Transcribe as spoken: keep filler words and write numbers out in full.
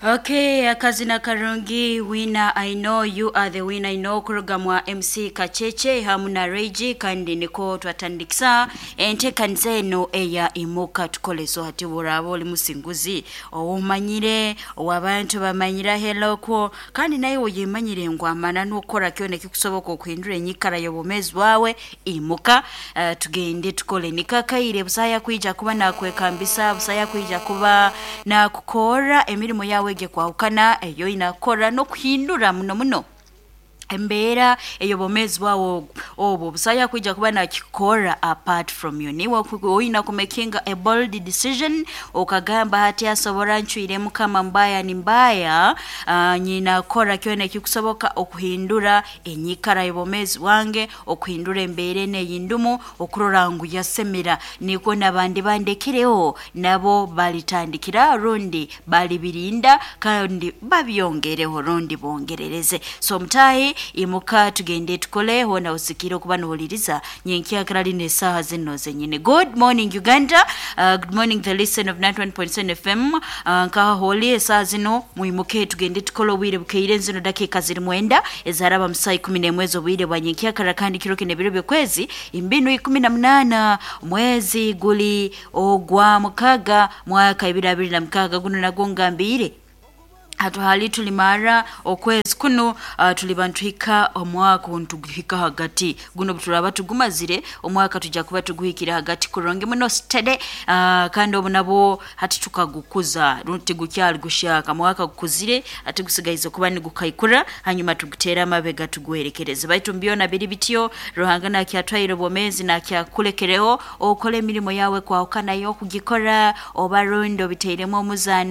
Okay, akazina karungi winner I know you are the winner I know kuruga mwa MC Kacheche hamu na Reji kandi niko twatandikisa enteekaniza eno eya imuka tukoleso hati buraba oli musinguzi owumanyire owabantu bamanyira helokwo kandi naye oyemanyire ngu amana n'okukora kyona ekikusoboka okuhindura enyikara y'obwomeezi bwawe imuka uh, tugende tukole nikakaire busaya kwija kuba nakwekambisa busaya kwija kuba nakukora emirimu yawe ege kwahukana eyo inakora n'okuhindura muno muno embeera ey'obwomeezi bwawe obwo busaya kwija kuba nakikora apart from you niwe oyina kumakinga a bold decision okagamba hati asobora ncwire mukama mbaya ni mbaya uh, nyinakora kyona ekikusoboka okuhindura enyikara y'obwomeezi bwange okuhindura embeera eno eyindumu okurora ngu yasemera nikwo nabandi bandekireho nabo balitandikira rundi balibirinda kandi babyongereho rundi bongerereze so mutahi imuka tugende tukole hona usikire okuba nohuliriza nyenkyakira lino esaaha zino zenyine good morning uganda uh, good morning the listen of ninety-one point seven fm uh, nkaha holi esaaha zino mwimuke tugende tukole obwire bukeire zino dakiika ziri mwenda ezaraba musaa ikumi n'emwe ez'obwire bwa nyenkyakara kandi kiro kino ebiro by'okwezi imbinu ikumi na munaana mwezi guli ogwa mukaga mwaka ibiri abiri na mukaga guno nagwo ngambire hatuhali tulimara okwezi kuno uh, tuliba ntuhika omwaka ntuguhika hagati guno turaba tugumazire omwaka tujja kuba tuguhikire hagati kurungi muno steady uh, kandi obu nabwo hati tukagukuza tigukyali gushaka mwaka gukuzire ati gusigaize kuba nigukaikura hanyuma tugutera amabega tuguherekereze baitu mbyona biri bityo ruhanga nakyatwaire obwomezi nakyakulekereho okole emirimu yawe kwahukana yo kugikora oba rundi obiteiremu omuzaano.